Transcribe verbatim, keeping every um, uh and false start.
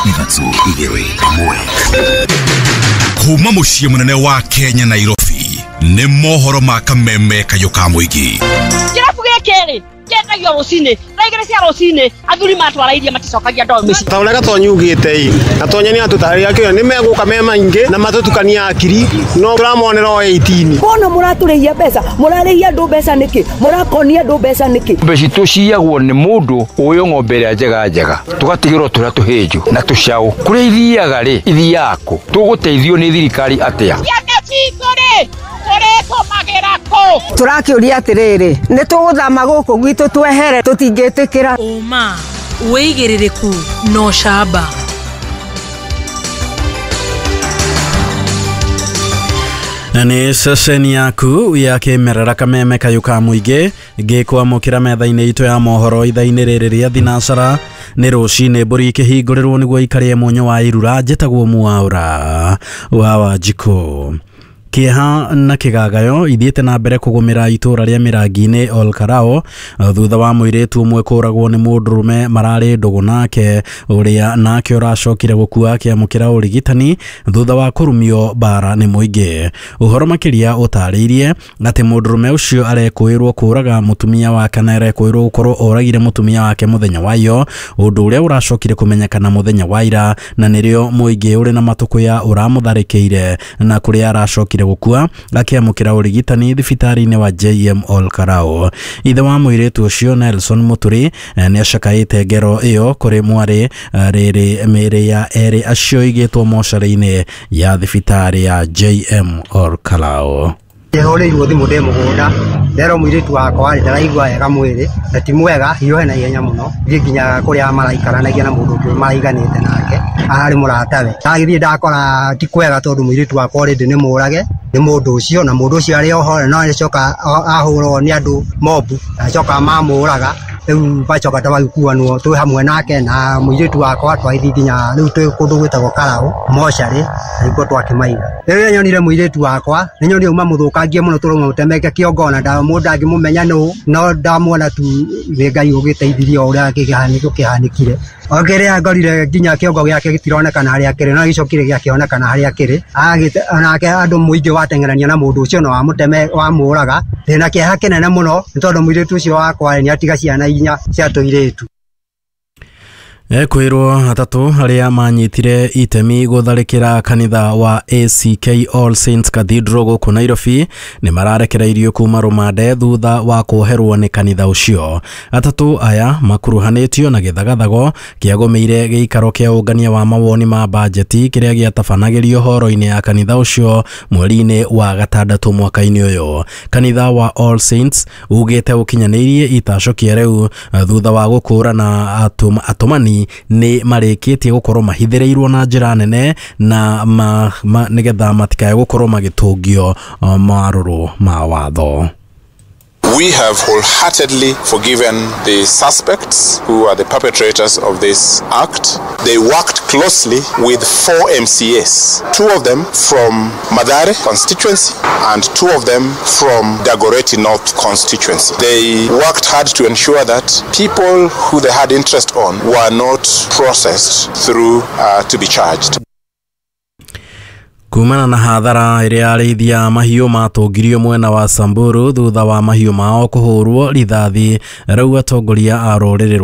Ithatũ, igĩrĩ, ĩmwe. Kuma mũciĩ mũnene wa Kenya, Nairobi, nĩ mohoro ma kameme kayũ ka mũingĩ. Kĩrabu gĩkĩ rĩ kĩendagio rũcinĩ thaa igĩrĩ cia rũcinĩ, athuri matwara iria maticokagia ndoo mĩciĩ. Ta ũrĩa Gatonyi ugĩte ĩ, Gatonyi nĩ atũtarĩria kĩo nĩ megũka me maingĩ na matũtukania akiri, no tũramonera o eighteen. Mbona mũratũrĩhia mbeca? Mũrarĩhia andũ mbeca nĩkĩ? Mũrakonia andũ mbeca nĩkĩ? Ng'ombe citũ ciyagwo nĩ mũndũ ũyũ, ng'ombe ĩrĩa njega njega tũgatigĩrwo tũrĩa tũhĩnju na tũcaũ. Kũrĩa ithiaga rĩ, ithiaga kũ? Tũgũteithio nĩ thirikari atĩa? Ciana citũ rĩ tũrĩtũmagĩra kũ? Tũrakĩũria atĩrĩrĩ, nĩ tũgũthama gũkũ gwitũ twehere? Tũtingĩtĩkĩra. Ũma, wĩigĩrĩrĩku na ũcamba. Na nĩ ceceni yaku ya kĩmerera, kameme kayũ ka mũingĩ, ngĩkwamũkĩra metha-inĩ itũ ya mohoro ithaa-inĩ rĩrĩ rĩa thinacara. Nĩ rũcinĩ, mbũri ikĩhingũrĩrwo nĩguo ikarĩe mũnyũ wa irura. Njĩtagwo Mwaũra wa Wanjikũ. Kĩeha na kĩgagayo ithiĩte na mbere kũgũmĩra itũra rĩa Mĩrangi-inĩ, Olkarao, thutha wa mũirĩtu ũmwe kũragwo nĩ mũndũrũme mararĩ ndũgũ nake, ũrĩa nake ũracokire gũkua akĩamũkĩra ũrigitani thutha wa kũrumio mbara nĩ mũingĩ. Ũhoro makĩria ũtarĩirie atĩ mũndũrũme ũcio arekũĩrwo kũraga mũtumia wake, na arekũĩrwo gũkorwo oragire mũtumia wake mũthenya wa iyo, ũndũ ũrĩa ũracokire kũmenyekana mũthenya wa ira, na nĩrĩo mũingĩ ũrĩ na matũkũya ũramũtharĩkĩire, na kũrĩa aracokire gũkua akĩamũkĩra ũrigitani thibitarĩ-inĩ wa J M Olkarao. Ithe wa mũirĩtu ũcio, Nelson Mũturi, nĩ acakaĩte ngero ĩyo kũrĩ mwarĩ. Rĩrĩ mĩĩrĩ ya erĩ acio igĩtwo mocarĩ-inĩ ya thibitarĩ ya J M Olkarao. Ndĩhũrĩirwo thimũ ndĩ mũgũnda, nderwo mũirĩtu wakwa rĩ ndaraigua wega mwĩrĩ na ti mwega, hiũhe na ihenya mũno, thiĩ nginya kũrĩa maraikaranagia na mũndũ ũngĩ maraiganĩte nake ararĩ mũratawe. Ndagĩthiĩ ndakora ti kwega, tondũ mũirĩtu wakwa already nĩ mũrage nĩ mũndũ ũcio, na mũndũ ũcio arĩ oho no acoka ahũrwo nĩ andũ mobu, acoka mamũraga. Rĩu bacoka twagĩkuanwo twĩ hamwe nake na mũirĩtu wakwa, twagĩthiĩ nginya rĩu twĩ kũndũ gwĩtagwo Karaũ mocarĩ, nĩkuo twakĩmaiga. Rĩrĩa nyonire mũirĩtu wakwa, nĩ nyonire uma mũthũkangie mũno, tũrauma mũtemeke kĩongo, ona mũndũ ndangĩmũmenya nũ, no ndamwona tu nĩ Ngai ũgĩteithirie o ũrĩa kĩhanĩko kĩhanĩkire. O kĩrĩa ngorire nginya kĩongo gĩake gĩtironekana harĩa kĩrĩ, no gĩcokire gĩakĩonekana harĩa kĩrĩ. Onake andũ mũingĩ wateng'erania na mũndũ ũcio na wamũteme wamũraga. Ndĩna kĩeha kĩnene mũno nĩ tondũ mũirĩtu ũcio wakwa nĩ atiga ciana inya cia tũirĩtu. Ekwĩrwo atatũ arĩa manyitire itemi gũtharĩkĩra kanitha wa A C K All Saints Cathedral gũkũ Nairobi nĩ mararekereirio kuma rũmande thutha wa kuoherwo nĩ kanitha ũcio. Atatũ aya makuruhanĩtio na gĩthagathago kĩagũmĩire gĩikaro kĩa ũngania wa mawoni ma bajeti kĩrĩa gĩatabanagĩrio horo-inĩ ya kanitha ũcio mweri-inĩ wa gatandatũ mwaka-inĩ ũyũ. Kanitha wa All Saints ugĩte ũkinyanĩirie itacokia rĩu thutha wa gũkũrana atũmani nĩ marĩkĩtie gũkorwo mahithĩrĩirwo na njĩra nene na ma, ma, nĩgetha matikae gũkorwo magĩtũngio marũrũ ma watho. We have wholeheartedly forgiven the suspects who are the perpetrators of this act. They worked closely with four M C As, two of them from Mathare constituency and two of them from Dagoretti North constituency. They worked hard to ensure that people who they had interest on were not processed through uh, to be charged. Kumana na hathara ĩrĩa arĩithi a mahiũ matũngirio mwena wa Samburu thutha wa mahiũ mao kũhũrwo rithathi, rĩu atongoria a rũrĩrĩ